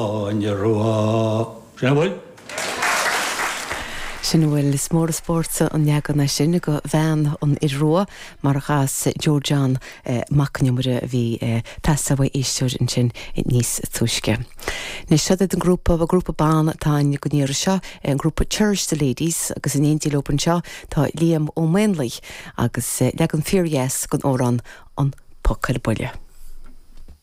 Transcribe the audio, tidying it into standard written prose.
Áine Rua. Sin a bhfuil. Sin a bhfuil. Is mór an spórt an leagan é sin de Bhean an Fhir Rua mar a chas Joe John Mac an Iomaire a bhí ag teastáil uaidh éisteoir ansin níos túisce. Anois seo iad an grúpa, grúpa ban atá ann don iarraidh seo, an grúpa Cherish the Ladies agus in éindí leo anseo tá Liam Ó Maonlaí agus leagan fíordheas den amhrán An Poc ar Buile.